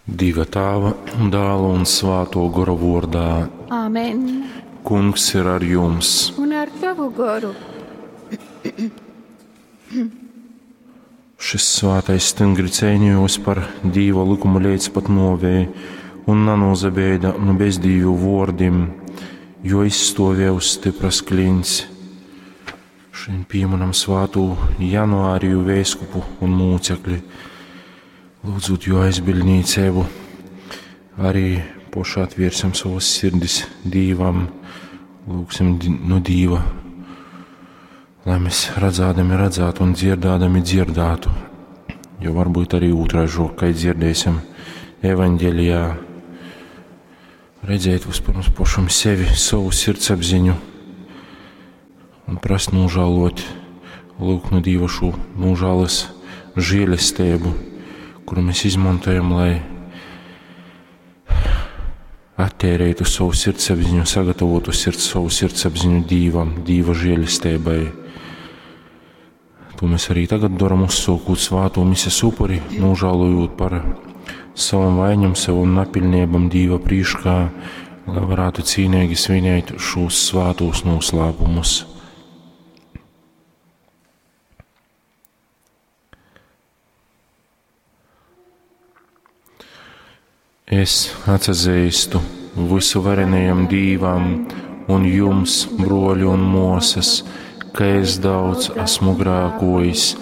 Dieva Tāva, Dāla un Svāto Gora vordā. Āmen. Kungs ir ar jums. Un ar tavu goru. Šis svātais stingri cīnījos par Dīva likumu līdz pat novei un nanūzabeida nu bezdīvu vōrdim, jo izstāvēja uz stipras klints. Šodien pieminam svātū Januāriju vēskupu un mūcekli. Lūdzot jo aizbildnīcību, arī poši atviersim savas sirdis Dīvam, lūgsim nu Dīva, lai mēs redzādami redzētu un dzirdādami dzirdētu, jo varbūt arī otraižo, kai dzirdēsim evaņģēlijā, redzēt vispirms pašam sevi, savu sirdsapziņu un prast nožēlot, lūgt no Dīva šo nožēlas žēlestību, kuru mēs izmantojam, lai attērētu savu sirdsapziņu, sagatavotu sirds, savu sirdsapziņu Dīvam, Dīva žēlestībai. To mēs arī tagad daram, uzsūkot svāto mises upuri, nožēlojot par savam vainam, savam napilnībam Dīva prīškā, lai varētu cīnīgi svinēt šos svātos noslēpumus. Es atsazīstu visu varenajam Dīvam un jums, broļi un mosas, ka es daudz esmu grākojis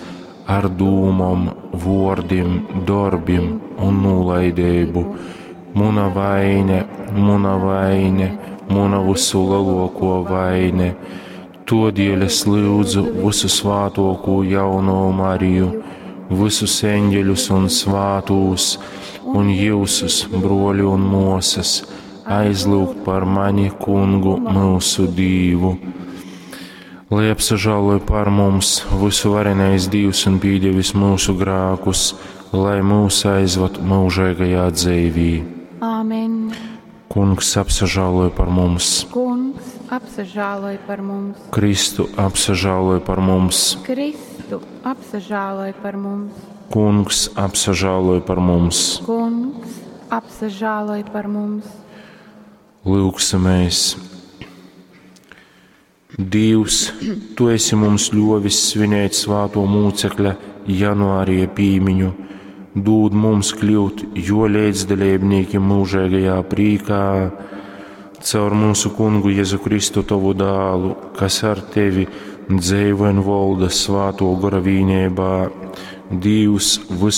ar dūmom, vordim, darbim un nolaidību. Muna vaine, muna vaine, muna visu lielāko vaine. Todēļ es lūdzu visu svātoko jauno Mariju, visus eņģeļus un svātūs, un jūsus, broļi un mosas, aizlūgt par mani, kungu, mūsu Dīvu. Lai apsažāloja par mums visu varenais Dīvs un pīdevis mūsu grākus, lai mūs aizvad mūžīgajā dzīvī. Āmen. Kungs apsažāloja par mums, Kungs apsažāloj par mums. Kristu apsažāloja par mums, Kristu apsažāloj par mums. Kungs apsažāloja par mums. Kungs apsažāloj par mums. Lūksimies! Dievs, Tu esi mums ļovis svinēt svāto mūcekļa janvārija pīmiņu, dūd mums kļūt jo līdzdalībnieki mūžīgajā prīkā, caur mūsu kungu Jēzu Kristu tavu dālu, kas ar tevi dzīvo un valda svāto gora vīnībā, Dievs visu